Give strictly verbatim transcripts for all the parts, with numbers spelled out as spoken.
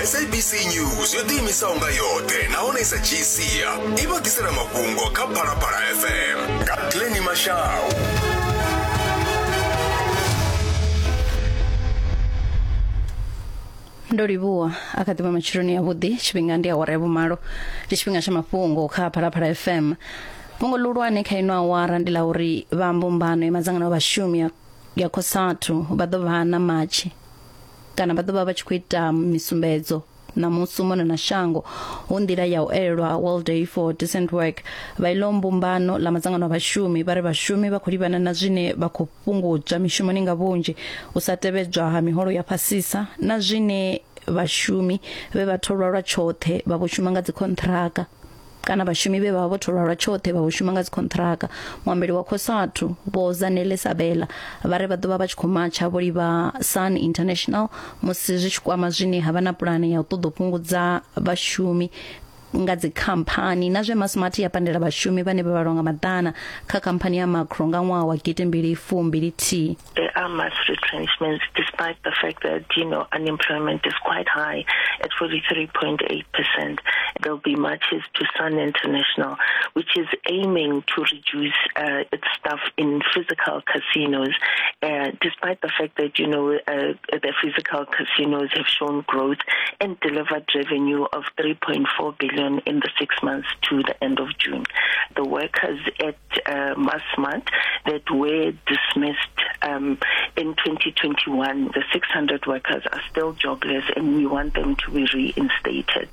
S A B C News yo ḓiimisaho nga yoṱhe nahone i sa dzhii sia i vha ḓisela mafhungo kha Phalaphala F M nga Glenny Mashau. Ndo livhuwa a kha ḓivha matsheloni ya vhuḓi tshifhinga ndi awara ya vhumalo ndi tshifhinga tsha mafhungo kha Phalaphala F M. Fhungo ḽihulwane kha ino awara ndi ḽa uri vha mbumbano ya madzangano a vhashumi ya COSATU vha ḓo vha na matshi kana vha ḓo vha vha tshi khou ita misumbedzo na musi mona na shango hu nḓila ya u elelwa World Day for Decent Work. Vha ilo mbumbano ḽa madzangano a vhashumi vha ri vhashumi vha khou livhana na zwine vha khou fhungudzwa mishumoni nga vhunzhi, u sa tevhedzwa ha miholo ya fhasisa na zwine vhashumi vhe vha tholwa lwa tshoṱhe vha vho shuma nga dzikhonṱhiraka kana vhashumi vhe vha vho tholwa lwa tshoṱhe vha vho shuma nga dzikhonṱhiraka. Muambeli wa COSATU Vho Zanele Sabela vha ri vha ḓo vha vha tshi khou matsha vho livha Sun International musi zwi tshi kwama zwine ha vha na pulane ya u ṱoḓa u fhungudza vhashumi nga dzikhamphani na zwe Massmart ya pandela vhashumi vhane vha vhalwa nga maḓana kha khamphani ya Makro nga ṅwaha wa gidi mbili fumbili thihi. There are mass retrenchments despite the fact that, you know, unemployment is quite high at forty-three point eight percent. There'll be marches to Sun International, which is aiming to reduce uh, its staff in physical casinos, uh, despite the fact that, you know, uh, the physical casinos have shown growth and delivered revenue of three point four billion in the six months to the end of June. The workers at uh, Massmart that were dismissed um, in twenty twenty-one, the six hundred workers are still jobless and we want them to be reinstated.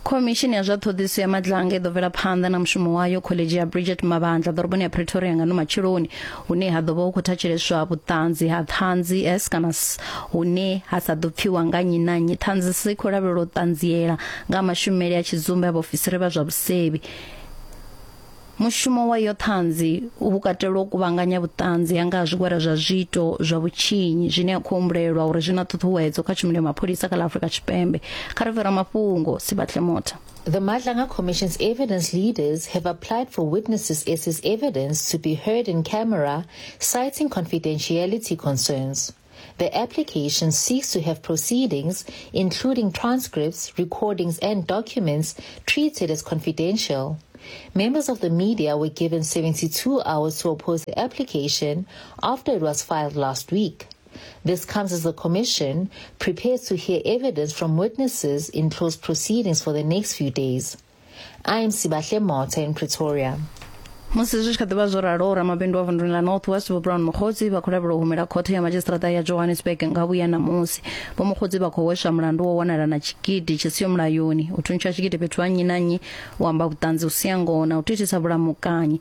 Khomishini ya zwa ṱhoḓisiso ya Madlanga i ḓo bvela phanḓa na mushumo wayo khoḽedzhi ya Bridget Mabandla ḓoroboni ya Pretoria nga no matsheloni, hune ha ḓo vha hu khou thatsheleswa vhuṱanzi ha ṱhanzi S kana S hune ha sa ḓo pfiwa nga nnyi na nnyi. Ṱhanzi S i khou lavhelelwa u ṱanziela nga mashumele a tshidzumbe a vhaofisiri vha zwa vhusevhi. Mushumo wa iyo ṱhanzi u katela u kuvhanganya vhuṱanzi ha nga zwigwada zwa zwiito zwa vhutshinyi zwine ya khou humbulelwa uri zwi na ṱhuṱhuwedzo kha tshumelo ya mapholisa kha ḽa Afrika Tshipembe. Kha ri fhira mafhungo Sibahle Motha. The Madlanga Commission's evidence leaders have applied for witnesses S's evidence to be heard in camera, citing confidentiality concerns. The application seeks to have proceedings, including transcripts, recordings and documents, treated as confidential. Members of the media were given seventy-two hours to oppose the application after it was filed last week. This comes as the Commission prepares to hear evidence from witnesses in closed proceedings for the next few days. I am Sibahle Motha in Pretoria. Musi zwi tshi kha ḓi vha zwo ralo, ramabindu wa vunduni ḽa North West Vho Brown Mokgotsi vha khou lavhelelwa u humela khothe ya madzhisiṱiraṱa ya Johannesburg nga vhuya ṋamusi. Vho Mokgotsi vha khou hweswa mulandu wo wanala na tshigidi tshi siho mulayoni, u thuntsha tshigidi fhethu ha nnyi na nnyi, u amba vhuṱanzi u sia ngoho na u thithisa vhulamukanyi,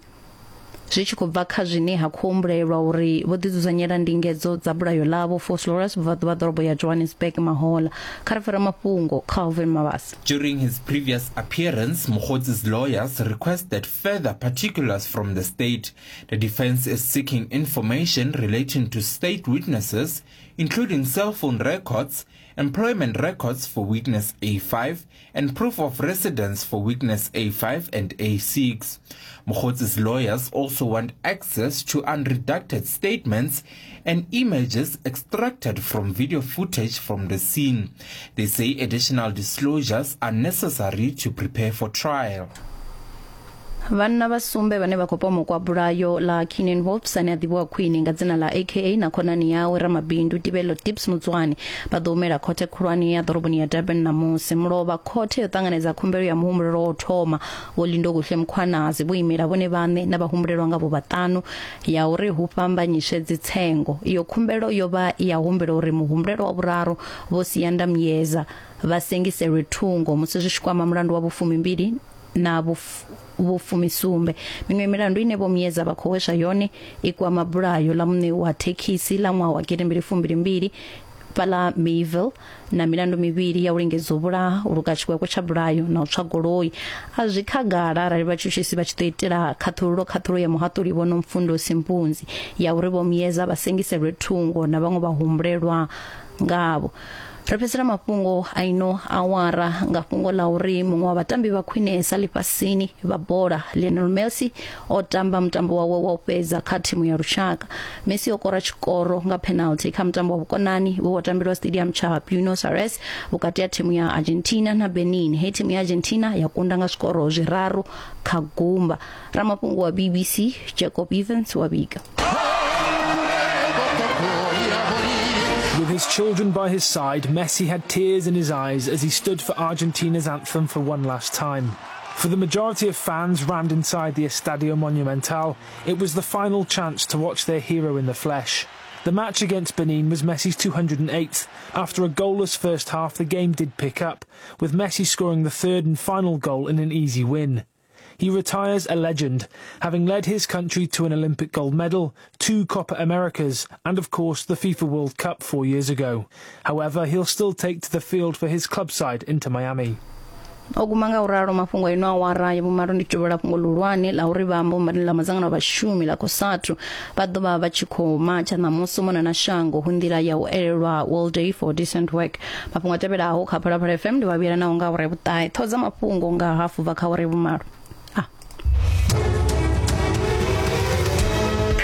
zwi tshi khou bva kha zwine ha khou humbulelwa uri vho ḓidzudzanyela ndingedzo dza bulayo ḽavho Vosloorus vhubvaḓuvha ḓorobo ya Johannesburg mahola. Kha ri fara mafhungo Calvin Mabasa. During his previous appearance, Mokgotsi's lawyers requested further particulars from the state. The defense is seeking information relating to state witnesses, including cell phone records, employment records for witness A five, and proof of residence for witness A five and A six. Mokgotsi's lawyers also want access to unredacted statements and images extracted from video footage from the scene. They say additional disclosures are necessary to prepare for trial. Vhanna vha sumbe vhane vha khou pomokwa bulayo ḽa Keenan Wolfs ane a ḓivhiwa khwine nga dzina ḽa A K A na khonani yawe ramabindu Tibelo Tips Mutswani vha ḓo humela khothe khulwane ya ḓoroboni ya Durban ṋamusi. Mulovha khothe yo ṱanganedza khumbelo ya muhumbulelwa wa u thoma Vho Lindokuhle Mkhwanazi vho imela vhone vhaṋe na vhahumbulelwa nga vho vhaṱanu ya uri hu fhambanyiswe dzitsengo. Iyo khumbelo yo vha i ya humbela uri muhumbulelwa wa vhuraru Vho Siyanda Myeza vha sengiselwe thungo musi zwi tshi kwama mulandu wa vhufumimbili na vhufumisumbe. Miṅwe milandu ine Vho Myeza vha khou hweswa yone i kwama bulayo ḽa muṋe wa thekhisi ḽa ṅwaha wa gidi mbili fumbili mbili fhaḽa Mayville na milandu mivhili ya u lingedza u vhulaha, u luka tshikwekwe tsha bulayo na u tswa goloi. A zwi khagala arali vhatshutshisi vha tshi ḓo itela khaṱhululo khaṱhulo ya muhaṱuli Vho Nomfundo Simpunzi ya uri Vho Myeza vha sengiselwe thungo na vhaṅwe vhahumbulelwa ngavho. Ri fhedzisela mafhungo a ino awara nga fhungo ḽa uri muṅwe wa vhatambi vha khwinesa ḽifhasini vha bola Lionel Messi o tamba mutambo wawe wa u fhedza kha thimu ya lushaka. Messi o kora tshikoro nga penalty kha mutambo wa vhukonani wo tambelwa stadium tsha Buenos Aires vhukati ha thimu ya Argentina na Benin. He thimu ya Argentina ya kunda nga zwikoro zwiraru kha gumba. Ramafhungo wa B B C Jacob Evans wa vhiga. With his children by his side, Messi had tears in his eyes as he stood for Argentina's anthem for one last time. For the majority of fans rammed inside the Estadio Monumental, it was the final chance to watch their hero in the flesh. The match against Benin was Messi's two hundred and eighth. After a goalless first half, the game did pick up, with Messi scoring the third and final goal in an easy win. He retires a legend, having led his country to an Olympic gold medal, two Copa Americas, and of course the FIFA World Cup four years ago. However, he'll still take to the field for his club side Inter Miami. O guma nga uralo mafhungo ino awara ya vhumalo ndi tovhela fhungo ḽihulwane ḽa uri vha mbumbano ḽa madzangano a vhashumi ḽa COSATU vha ḓo vha vha tshi khou matsha ṋamusi mona na shango hu nḓila ya u elelwa World Day for Decent Work. Mafhungo a tevhelaho kha Phalaphala F M ndi vha vhuyela naho nga awara ya vhuṱahe. Ṱhoho dza mafhungo nga hafu bva kha awara ya vhumalo.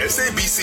S A B C